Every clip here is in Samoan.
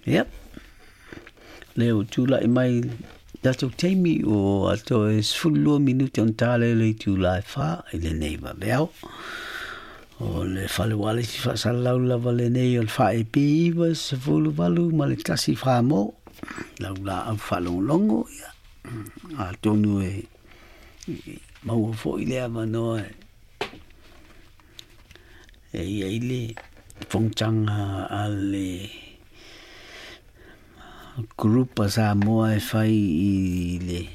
Ia, lea ua tulai mai le tatou taimi ua toe 12 minute ona ta lea i le itula e 4 i lenei vaveao. O le fale ualesi faasalalau lava lenei o le FAEP 98 ma le 1 Famo. Lau laau faalogologo, ia, atonu e maua foi le avanoa e i ai le fonotaga a le group a Samoa e fai i le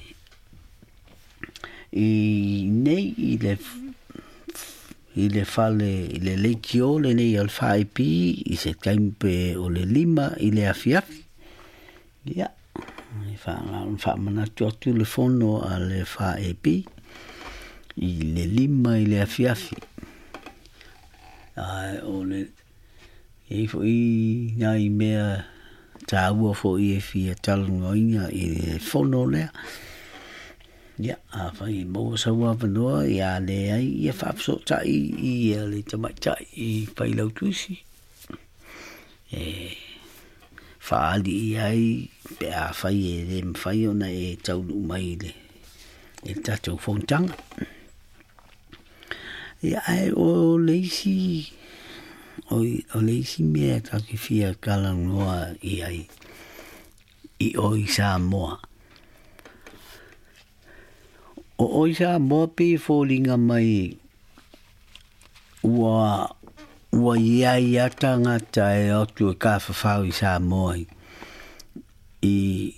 i nei i le i le fale i le leitio lenei o le FAEP i se taimi pe o le 5 i le afiafi. Ia, e faamanatu atu le fono a le FAEP i le 5 i le afiafi. Ae o le e i foi nai mea tāua foi e fia talanoaina i le fono lea. Ia, afai e maua sau avanoa, ia leai ia faafesootai i le tamaitai i Failautusi e faaali i ai pe afai e le mafai ona e taunuu mai i le tatou fonotaga. Ia, ae o le isi o le isi mea tatou te fia talanoa i ai i o i Samoa. O o i Samoa pei e foliga mai ua i ai a tagata e o atu e tafafao i Samoa i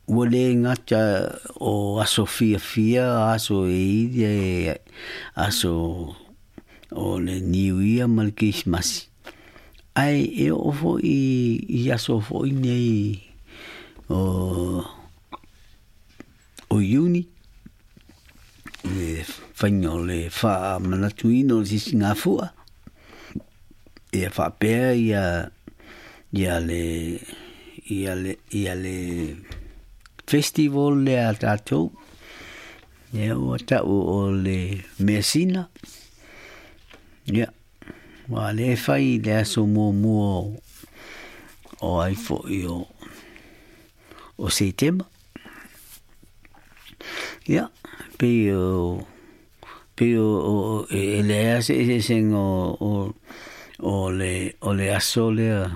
ua le gata o aso fiafia, aso e i le aso o le Niu Ia ma le Kerisimasi. Ae e oo foi i aso foi nei o Iuni, le faiga o le faamanatuina o le sisigafua, ia faapea ia le ia le festival lea a tatou, ia ua tau o le measina. Ia, ua le fai i le aso muamua o ai foi o Setema. Ia, pei o e leai se eseesega o le aso lea,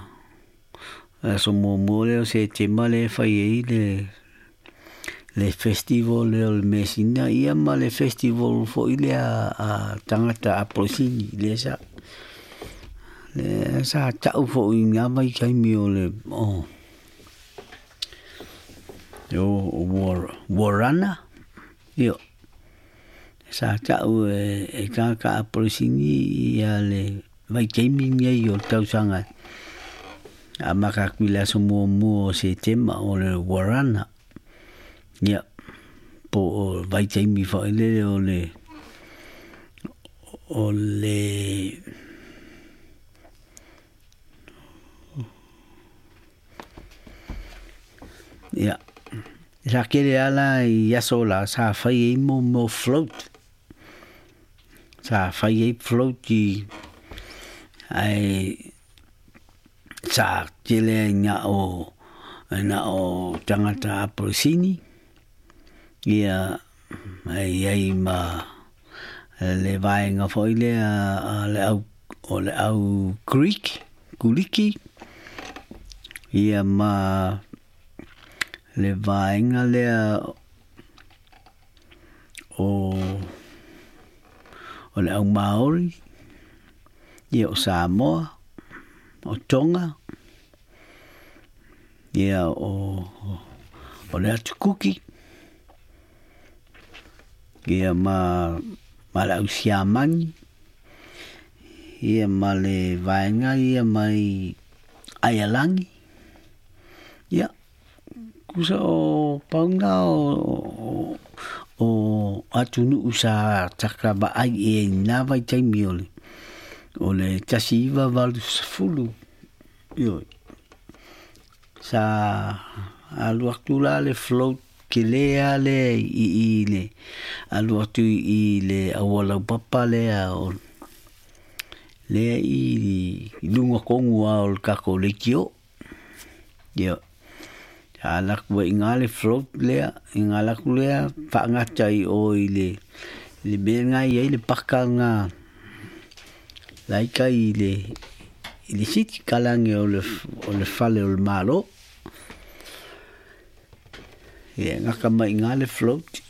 aso muamua lea o Setema lea e fai ai le festival lea o le measina, ia ma le festival foi lea a tagata Apolisini lea sa tau foi i ngā vaitaimi o le o Warana. Ia, sa tau e tagata Apolisini ia le vaitaimi nei o le tausaga a maka atu i le aso muamua o Setema o le Warana. Ia, po o vaitaimi foi lele o le ia, sa kele ala i aso la sa fai ai mo float. Sa fai ai float i ai sa tele ai na o tagata Apolisini. Ia, ai ai ma le vaenga foi lea le au o le au Greek, Kuliki. Ia ma le vaenga lea o le au Maori, ia o Samoa, o Tonga, ia o le atu Kuki, ia ma le au Siamani, ia ma le vaenga ia mai Aialangi. Ia, kusa o paunga o atunuu sa taka vaai e nā vaitaimi o le 1980. Ioe. Sa alu atu la le float ke lea le i le alu atu i le aualaupapa lea o lea i lunga kongu a o le kako leitio. Ia sa alu atu ai i ina le float lea, na alu atu lea faagata i o i le mea lena e i ai le paka lena la e i tai i le city, tala ane o le fale o le Malo. Ia gata mai i ina le float,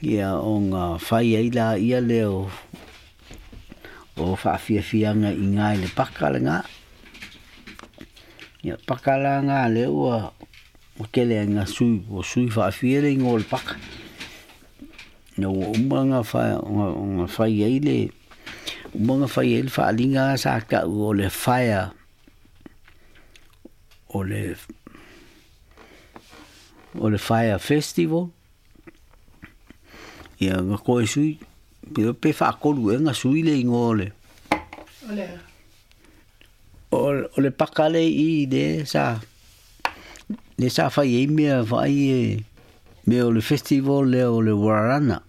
ia ona fai ai laia lea o faafiafiaga i ina i le paka lena. Ia paka la lena lea ua tele ai ina sui, ua sui faafia le igoa o le paka. Ina ua uma ona fai ai le uma ona fai ai le faaaliga sa tau o le fire o le o le fire festival. Ia na toe sui pe faatolu ea na sui le igoa o le O le a? O le paka lea i i lea sa lea sa fai ai mea vaai e mea o le festival lea o le Warana.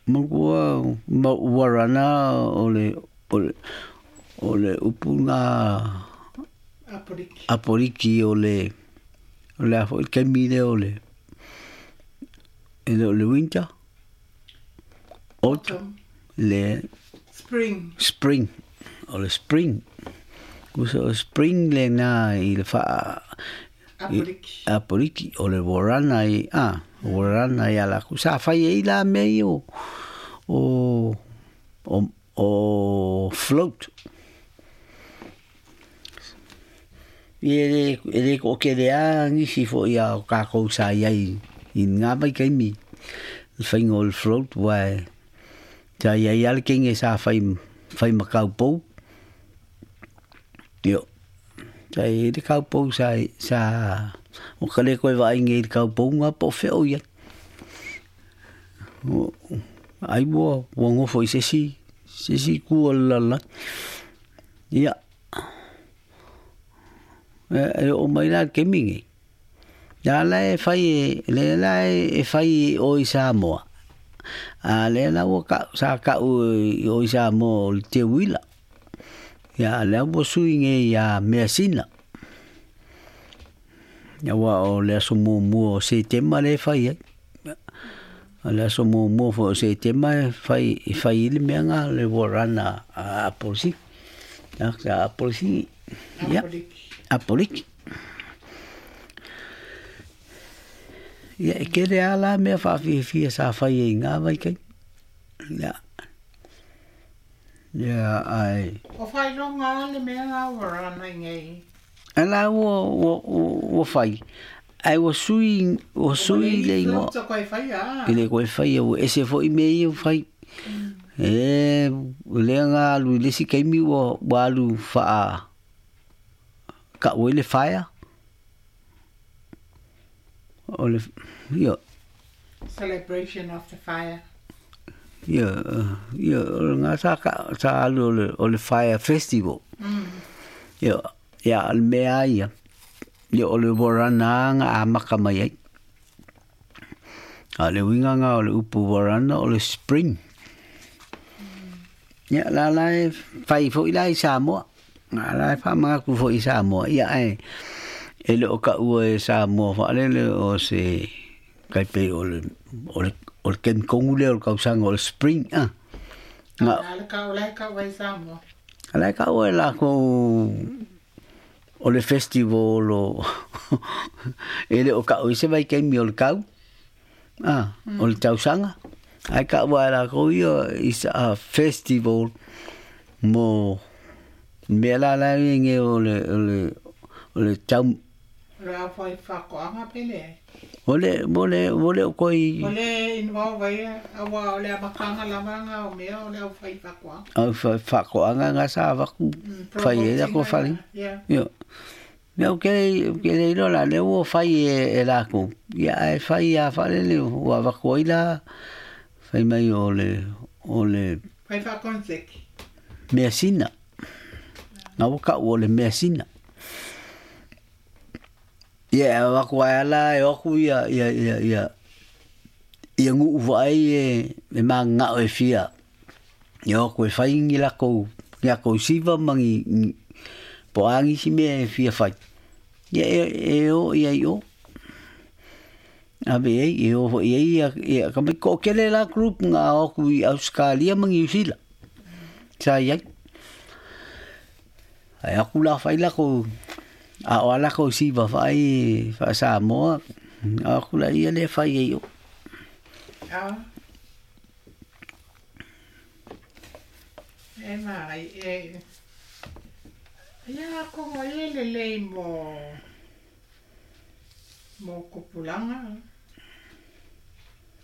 Manatua ma Warana o le o le o le upu lena Apoliki. Apoliki o le o le a foi le taimi lea o le e le o le winter, autumn, le Spring. Spring, o le spring. Usa o spring lena i le faa Apoliki. Apoliki, o le warana i, a, warana ia lakou. Sa fai ai la mea ia o, o, o, o float. Ia e le toatele lava nisi foi a o tatou sa i ai i lena vaitaimi i le faiga o le float, aua sa i ai lava le teine sa fai fai ma kaupou. Ia, sa i ai le kaupou sa sa ua ta le toe vaai nei i le kaupou lena po o fea o i ai. Ai ua nofo i se isi se isi itu o le lalolagi. Ia, e oo mai la i le taimi lenei, lea la e fai e lea la e fai i o i Samoa, a lea la ua tau sa tau i o i Samoa o le teuila. Ia a lea ua sui nei ia Measina. Aua o le aso muamua o Setema lea e fai ai. O le aso muamua foi o Setema e fai e fai ai le mea lena le warana a Apolisi. A Apolisi, ia, Apoliki. Apoliki. Ia e tele lava la mea faafiafia sa fai ai i na vaitaimi. Ia, ia ae O faailoga a le mea la ua rana i nei. A la ua fai, ae ua sui ua sui le igoa. Ua le faia. E le toe faia, ua ese foi mea ia ua fai. E lea na alu i le isi taimi ua alu faa tau ai le fire. O le, ia. Celebration of the fire. Ia, ia, o lena sa sa alu o le fire festival. Ia, ia, o le mea lava ia, ia o le warana na amata mai ai. A o le uiga lena o le upu warana o le spring. Ia, la la e fai foi la i Samoa. A la e faamanatu foi i Samoa, ia ae e le o taua e Samoa faalele o se tai pei o le o le o le taimi tonu lea o le tausaga o le spring a. Na le kau la e kau ai Samoa. A la e taua e lakou o le festival o e le o taua i se vaitaimi o le tau a o le tausaga ae taua e lakou ia is a festival mo mea la la e nei o le o le o le tau. O le au fai faatoaga pe leai. O le o le o le o koi. O le involve ai aua o le amataga lava nga o mea o le au fai faatoaga. Au fai faatoaga nga sa avaku fai ai la ko fale. Ia. Ia o ke ke le iloa la lea ua fai e lakou. Ia ae fai lava faalele ua avatu ai la fai mai o le o le Fai faakonseki. Measina. Na ua tau o le measina. Ia e avatu ai lava la e o atu ia ia ia ia ia nuu vaai e mananao e fia e o atu e fai ni lakou ni lakou siva ma ni Po a nisi mea e fia fai. Ia e o ia i o. Ave ai e o foi ai ia ia ka mai ko kele la group nga o ku i Australia ma New Zealand. Sa ia. Ai aku la fai la ko a o ala ko siva fai fa Samoa. Aku la ia le fai ai o. Ah. E mai e ia ko e le lei mo mo kopulanga.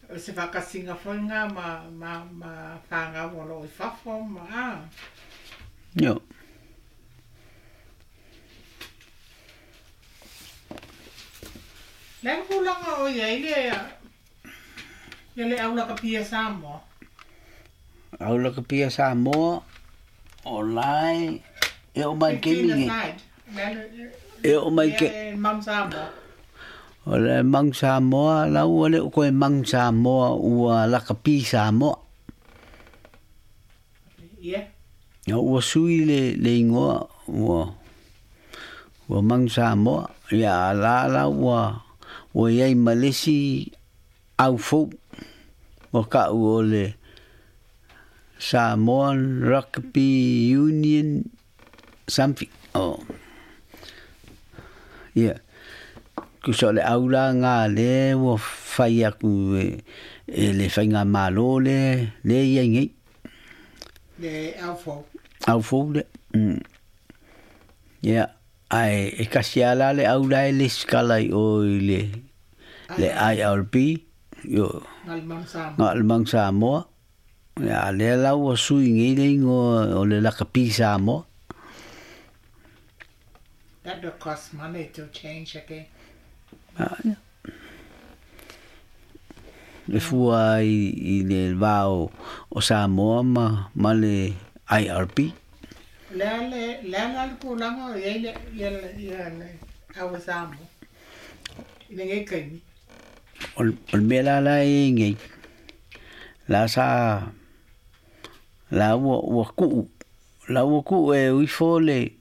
O se whakasinga whainga ma whanga walo i whafo ma a. Yo. Le kulanga o ia ile ia le aula ka pia Samoa. Aula ka pia Samoa o lai e o mai ke mi. E o mai ke Mang Samoa. O le Mang Samoa la ua le ko e Mang Samoa ua la ka pi Samoa. Yeah. Ya ua sui le ingoa ua ua Mang Samoa ya la ua ua iai malesi au fou o ka ua le Samoan Rugby Union something. Oh. Yeah. Kusa le aula ngā le ua whai aku e le whainga malo le ia ngai. Le au fou. Au fou le. Yeah. Ai e kasi ala le aula e le skala i o i le IRB. Yo. Ngal Mang Samoa. Ya le la ua sui ngai le ingo o le lakapi Samoa. That will cost money to change again. Ah, yeah. Le fua i le vao o Samoa ma le IRB. Le le kulanga o ia le au Samoa. I le ngai kaimi. O le mea la la e ngai. La sa la ua kuu. La ua kuu e uifo le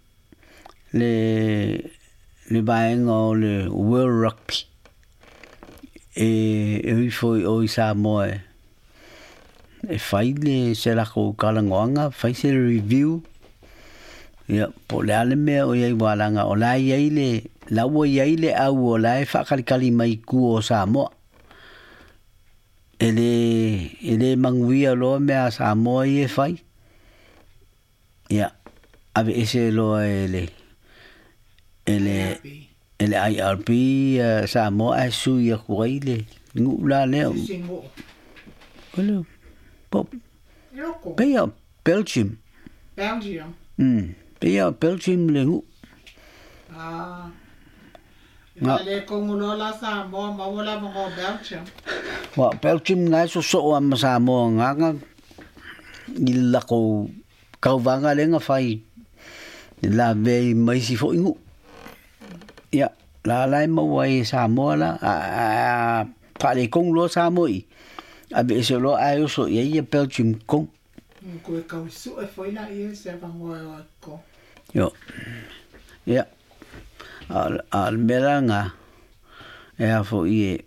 le vaenga o le World Rugby e uifo o i Samoa e fai le se lako kalangoanga fai se review ia po le ale mea o iai walanga o la iai le la ua iai le au o la e whakalikali mai ku o Samoa e le manguia loa mea Samoa i e fai ia ave ese loa e le ele IRB Samoa e sui a kuai le ngu la leo. Ole pop. Peia Belgium. Belgium. Peia Belgium le ngu. Ah. Le kongulo la Samoa ma wala mo Belgium. Wa Belgium ngai so so am Samoa nganga i la ko kauvanga le nga fai la ve mai si fo ngu. Ia, la lai maua i Samoa la, a pale kong lo Samoa i. A be se lo ai oso ia ia Belgium kong. Ko e kau su e foi la ia se vangoa o ko. Yo. Ia. A mera nga e a fo i e.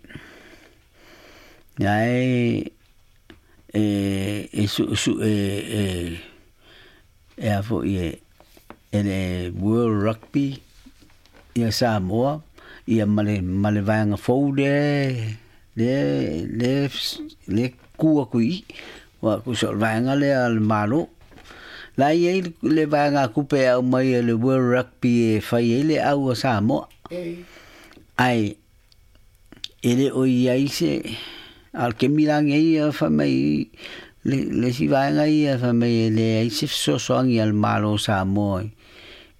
Ia e e su su e e a fo i e e World Rugby ia Samoa ia male vaenga fou le le kua kui wa ku so vaenga le al malo la ia le vaenga kupe au mai le World Rugby e fai le au Samoa ai ele o ia ise al ke milange ia fa mai le si vaenga ia fa mai le ise so so angi al malo Samoa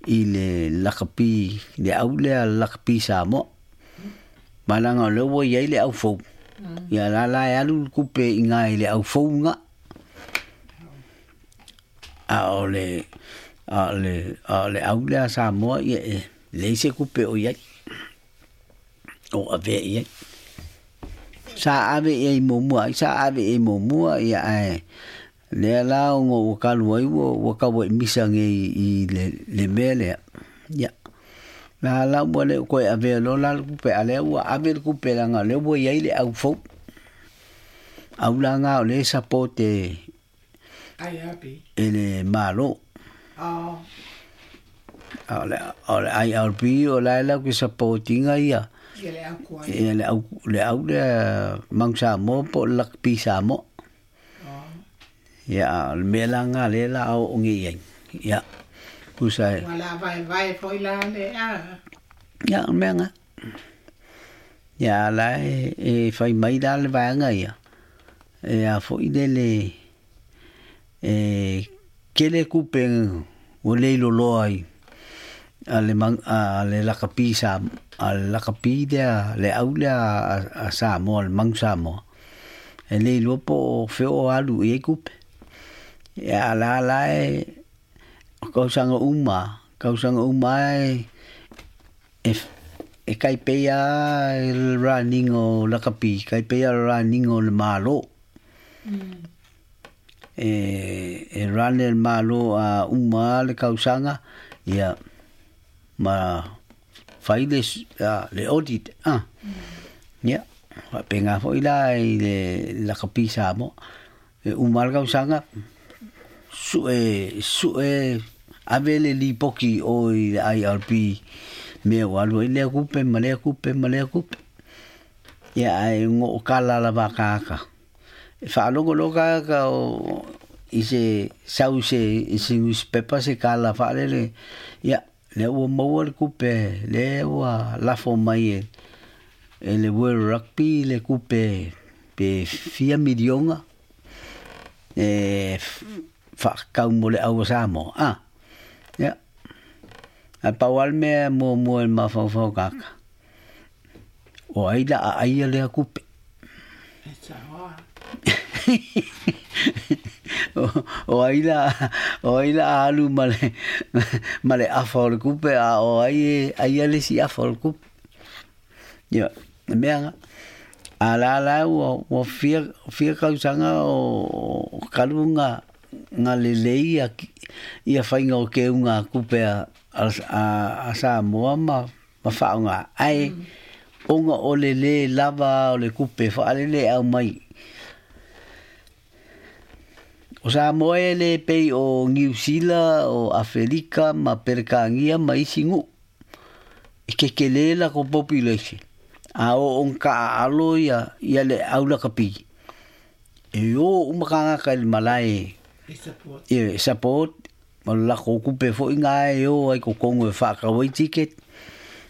i le lakapi le au le lakapi Samoa malanga le wo ia le au fou ia la la alu kupe inga i le au fou nga a o le a le au le Samoa ia le se kupe o ia o ave ia sa ave ia mo sa ave ia mo ia ai le la o ngo ka luai wo ka wo misa nge i le mele. Ia. La la ua le koe avea loa la le kupe, a lea ua ave le kupe leaga o lea ua i ai le au fou. Au la ga o lea e support e IRB. e le Malo. Oh. A o le IRB o la e latou te support ina ia. Ia le au tuai. Ia le au, le au lea Manu Samoa po o le Lakapi Samoa. Oh. Ia, a o le mea la lena lea o le a oo nei i ai. Ia, tusa e. Ua la vaevae foi la le a. Ia, o le mea lena. Ia, a o la e, e fai mai la le vaega ia, e a foi lele, e tele tupe ua le iloloa ai a le a le lakapi sa a le lakapi lea le au lea a Samoa le Manu Samoa e le iloa po o fea o alu i ai tupe. Ia a la la e o tausaga uma, tausaga uma e e tai pei lava le running o lakapi, tai pei lava le running o le Malo. E run e le Malo a uma lava le tausaga, ia ma fai le le audit a. Ia, faapena foi la i le lakapi Samoa. E uma lava le tausaga, sue sue ave le lipoti i o i le IRB mea ua alu ai lea tupe ma lea tupe ma lea tupe. Ia ae gookala lava tagata. E faalogo loa tagata o i se sau i se i se newspaper se tala faalele, ia lea ua maua le tupe, lea ua lafo mai e e le World Rugby le tupe pe fia miliona e faatatau mo le au a Samoa a. Ia, ae pau lava le mea e muamua i le mafaufau o tagata, o ai la a aia lea tupe. E sao a. O ai la o ai la a alu ma le ma le afa o le tupe a o ai e aia le isi afa o le tupe. Ia, le mea lena. A la la ua ua fia fia tausaga o talu ona na lelei ia ia faiga o keuga tupe a a Samoa ma ma faaaoga ae ona o le lē lava o le tupe faalele e aumai. O Samoa e le pei o Niu Sila, o Afelika ma Peretania ma isi nuu. E kekelē latou population, a oo ona taaalo ia ia le au lakapi, e o uma tagata i le malae E support. e support, ma le latou tupe foi na e o ai i totonu e faatau ai ticket,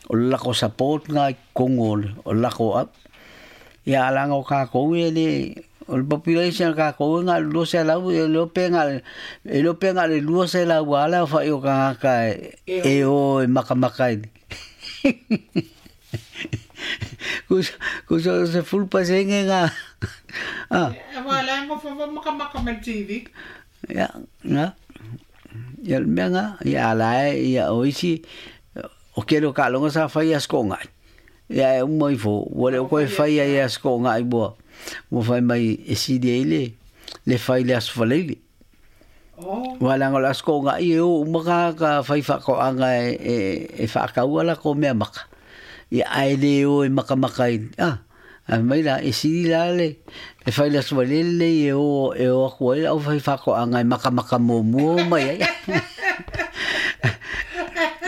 o le latou support na i totonu o le latou au. Ia a leaga o tatou e le o le population a tatou e na o le 200, e le iloa pe na o le e iloa pe na o le 200 lava le aofai o tagata e o e makamaka i tusa o le 10% na a. Aua o le a nofo foi makamaka ma le TV. Ia, na. Ia o le mea na, ia a la e ia o isi o tele o taaloga sa fai i Aso Toonai. Ia e uma ifo, ua le o Ua toe fai faia i e Aso Toonai ua ua fai mai e sili ai le le fai i le Aso Faraile. Oh. Aua leaga o le Aso Toonai e o uma tagata faifaatoaga e e e faatau a latou meamaka, ia ae le o e makamaka i a, ae fai mai la, e sili la le le fai i le Aso Faraile lenei e o e o atu ai le aufaifaatoaga e makamaka muamua mai ai.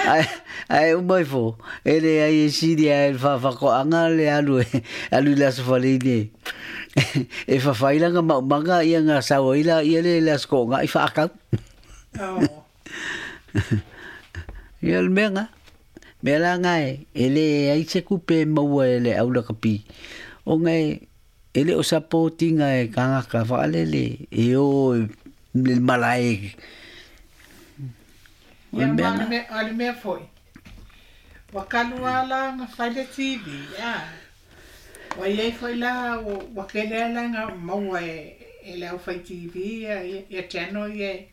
Ae ae uma ifo, e leai e sili lava i le faafatoaga le alu e alu i le Aso Faraile e fafai lana maumaga ia ona sau ai laia lea i le Aso Toonai faatau. Oh. Ia o le mea lena. Mea la lena e leai se tupe e maua e le au lakapi ona e e le o support ina e tagata faalele e o i le malae. O le Ia mea ma o le lena. mea, o le mea foi, ua talu lava la ona fai le TV, a, ua i ai foi la, ua, ua tele lava la ina maua e, e le aufai TV ia, ia, ia channel ia e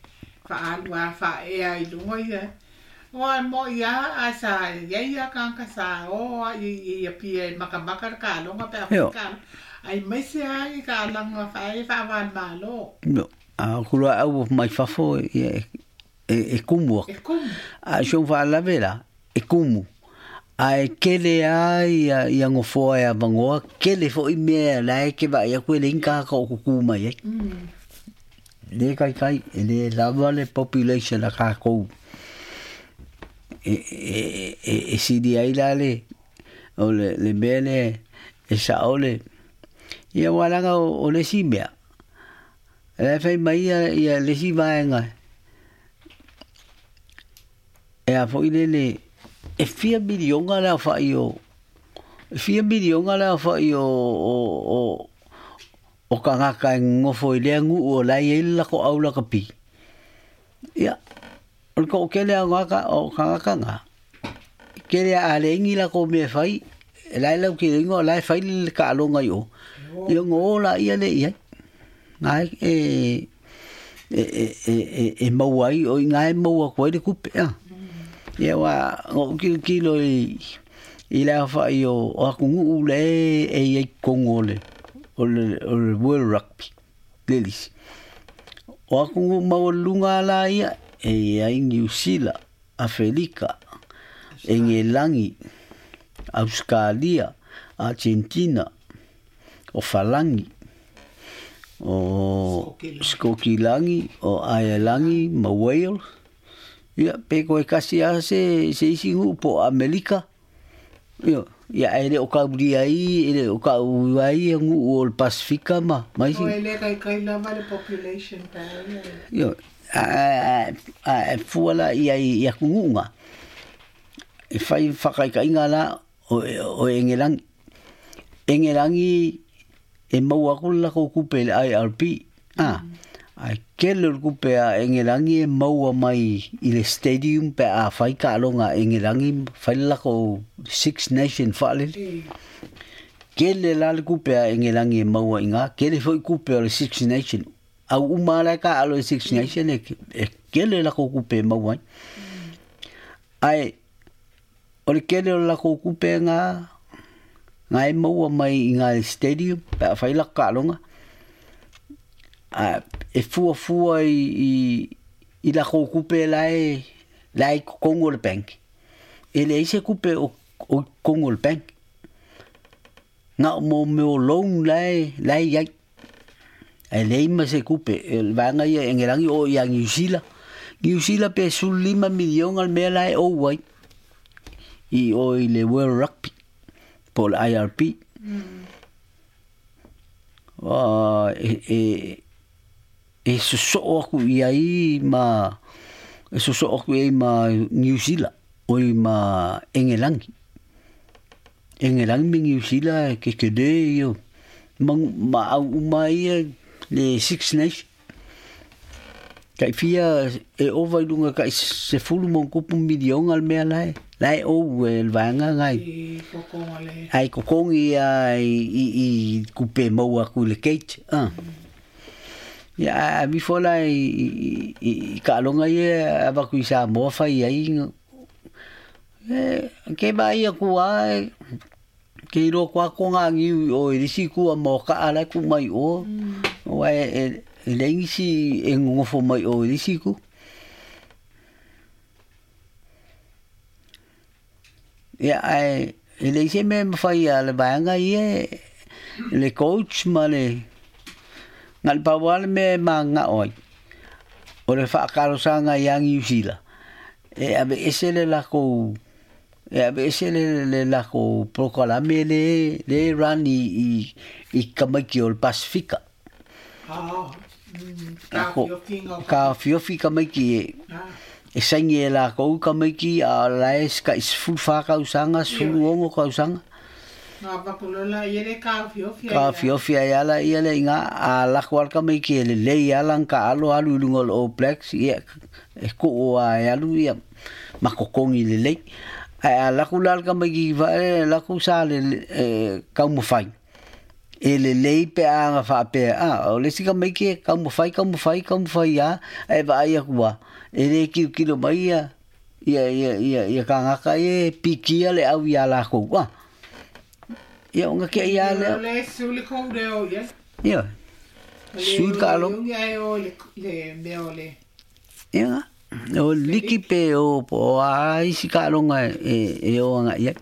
faaalu lava faaea i luga ia. Aua e mo'i lava ae sa i ai lava tagata sa o lava i, i Apia e makamaka le taaloga pe a fai Io. taaloga, aemaise lava i taaloga faa faava-o-Malo. Io. A o ku loa au mai fafo ia e e, e kumu E atu. kumu. A o si ou faalave la, kumu. Ae kele a ia ia gofoa e avagoa, kele foʻi mea la e ke vaai aku e leai ni tagata o kukū mai ai. Le kaikai, e lē lava le population a kākou e e e e sili ai la le o le le mea lea e sao le ia aua leaga o le isi mea o la e fai mai ia ia le isi vaega e a foi lele e fia miliona le aofai o e fia miliona le aofai o o o o tagata e nonofo i lea nuu o la e i ai le latou au lakapi. Ia, o le toatele lava o tagata o tagata na, e tele a leai ni latou mea e fai, e la e lauteleina o la e fai le taaloga i o, ia ona o laia lea i ai. Na e e e e e maua ai, o i ina e maua atu ai le tupe. Ia aua na ou tilotilo i i le aofai o atunuu la e e i ai i totonu o le o le o le World Rugby Ladies. O atunuu maualuluga la ia, e i ai Niu Sila, Afelika, Egelagi, Ausekalia, Agentina, o Falagi, o Sikokilagi, o Aelagi ma Wales. Ia, pe toe tasi lava se se isi nuu po o Amelika. Ioe, ia ae le o taulia ai, e le o tau ai ia nuu o le Pasifika ma ma isi. E le kaikai lava le population pe a ia. Ioe, a e fua la i ai i atunuu na, e fai faataitaiga la o o Egelagi. Egelagi e maua atu le latou tupe i le IRP, a, ae tele o le tupe a Egelagi e maua mai i le stadium pe a fai taaloga a Egelagi ma fai le latou Six Nation faalele. Tele la le tupe a Egelagi e maua i ina, tele foi tupe o le Six Nation. Au uma lava la e taaalo i le Six Nation e tele latou tupe e maua ai. Ae o le tele o le latou tupe na na e maua mai i ina i le stadium pe a fai latou taaloga, a e fuafua i i i latou tupe la e la e i totonu o le bank. E leai se tupe o o i totonu o le bank. Na o mo mea o loan la e la e i ai. Ae leai ma se tupe, o le vaega ia e Egelagi oo ia Niu Sila. Niu Sila pe 15 miliona le mea la e ou ai i o i le World Rugby po o le IRB. E e e sosoo atu i ai ma e sosoo atu i ai ma Niu Sila, oi ma Egelagi. Egelagi ma Niu Sila e tetele ia ma ma au uma ia le Six Nations. Tai fia e ova i luga tai 10+ miliona le mea la e la e ou e le vaega na I kokonga le. Ai kokongi ia i i i kupe maua atu i le gate. Ia a alu ifo la i i i taaloga ia avatu i Samoa fai ai e ke vaai atu lava e ke iloa atu lava kona niu i o i le isi itu a Moakaa la e tuu mai i o, aua e e leai nisi e nonofo mai o i le isi itu. Ia ae e leai se mea e mafai a le vaega ia le coach ma le na o le pau lava le mea e mananao ai, o le faatalosaga ia Niu Sila e aveese le latou e aveese le le latou polokalame le le run i i i tamaiti o le Pasifika. Taofiofi tamaiti e e saini e lakou tamaiti a o la e tai 14 tausaga, 16 tausaga. Taofiofi ai lava laia lea i ina, a alu atu lava le tamaiti e lelei lava lana taalo alu i luga o le All Blacks, ia e tuu lava e alu ia ma totogi lelei. Ae a alu atu la le tamaiti lea alu atu sa e taumafai e lelei pe a na faapea, a o le isi tamaiti e taumafai, taumafai, taumafai lava, ae vaai atu lava, e le tilotilo mai ia ia ia ia ia tagata ia e pikia le au iā latou, a. Ia ona te i lava lea. O le sui le kou leo ia. Ioe. Sui le taaloga. O le mea o le. Ia. O liki pe o po o a isi taaloga e o agaʻi ai.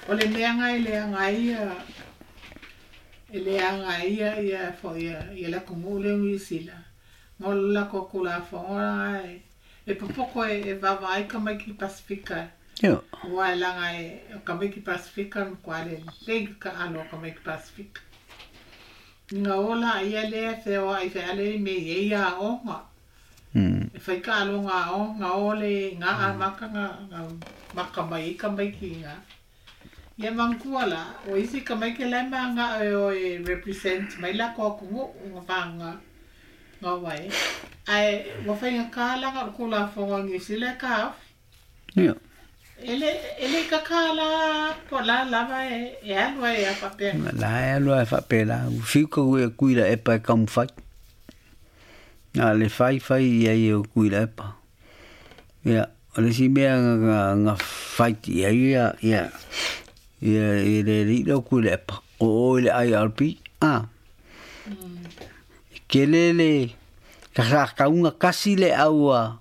O le mea ga e leaga ai ia e leaga ai ia ia foi ia ia le atunuu lea o Niusila, na o le latou Tulafono lena e e popoto e e vaavaai tamaiti Pasefika aua e leaga e o tamaiti Pasefika e matua lelei le taalo a tamaiti Pasefika. Ina o laia lea e feoai feale i mea e i ai aoga. E fai taaloga aoga, o le i ina amata ona maka mai ai tamaiti i ina. Ia manatua la, o isi tamaiti la e mananao e o e represent mai latou atunuu na na o ai. Ae ua faigata leaga o le Tulafono a Niu Sila e taofi. E le e le i kaka la po o le a lava e alu ai a faapena. La e alu ai faapela, fiu ka ue kui la epa e taumafai. Na o le fai fai i ai e o Tuilaepa. Ia, o le isi mea na fight i ai ia ia ia i le alii lea o Tuilaepa, o o i le IRP, a. E tele le sa tauga tasi le au a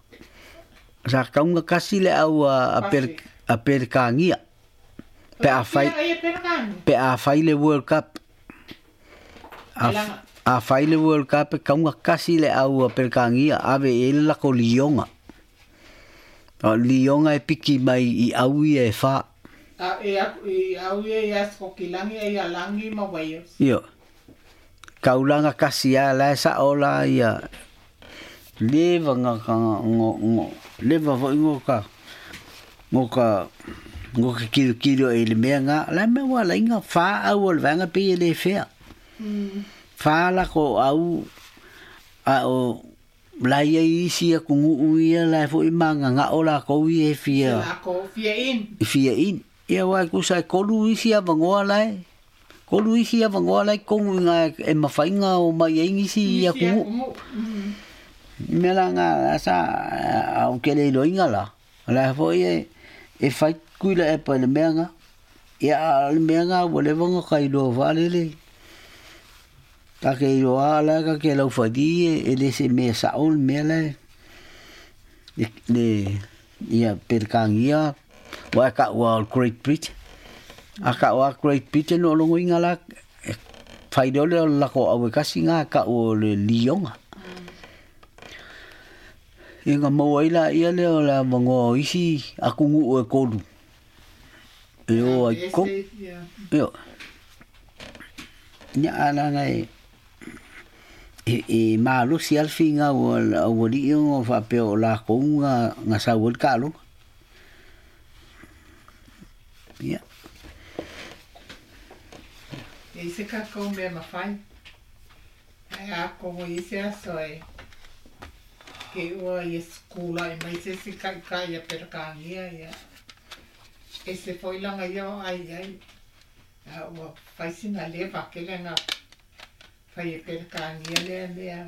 sa tauga tasi le au a a Peretania pe a fai pe a fai le World Cup. A fai le World Cup e tauga tasi le au a Peretania ave i ai le latou lioga. O le lioga e piki mai i au ia e fa. A e aku i au ia ia Skokilani e ia Langi ma Wales. Ioe. Taulaga tasi lava la e sao la ia leva ga leva foi go ka go ka go ka kilokilo i le mea ga la mea ua alai ga fa au o le vaega pei e le fea. Fa lako au a o la ia i isi atunuu ia la e foi magagao lakou ia e fia fia in. Fia in. Ia aua e tusa e tolu isi avanoa la e tolu isi avanoa la e i totonu i ina e mafai ona omai ai nisi atunuu. I mea la na sa ou te le iloaina la, o la foi e fai Tuilaepa i le mea na. Ia a o le mea na ua leva ona ta iloa faalele. Ta te iloa lava la ta te laufali e le se mea sao le mea la e le ia Peretania aua e taua o le Great Britain. A taua Great Britain o lona uiga la e fai loa lea o le latou au e tasi lena e tau o le Lioga. Ia ona maua ai laia lea o le avanoa o isi atunuu e tolu e o ai i totonu. Ioe. Ia ae leaga e e malosi lava le finau a le aualii ona faapea o latou na sau ai le taaloga. Ia. E i se tatou mea mafai, ae a kogo i se aso e ke ua ia kulaʻi mai se isi taitai ia Peretania ia ese foi laga ia o ai ai a ua fai sina leva tele na fai e Peretania lea mea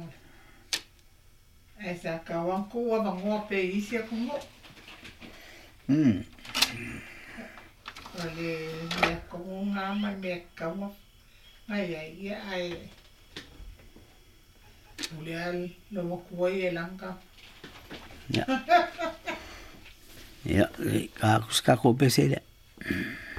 ae sa tau lava tuu avanoa pea i isi atunuu. O le mea tonu lena ma le mea tatau ona i ai, ia ae pule lava lou atua ia i lana Ia, ia, ta atu se tatou pese lea.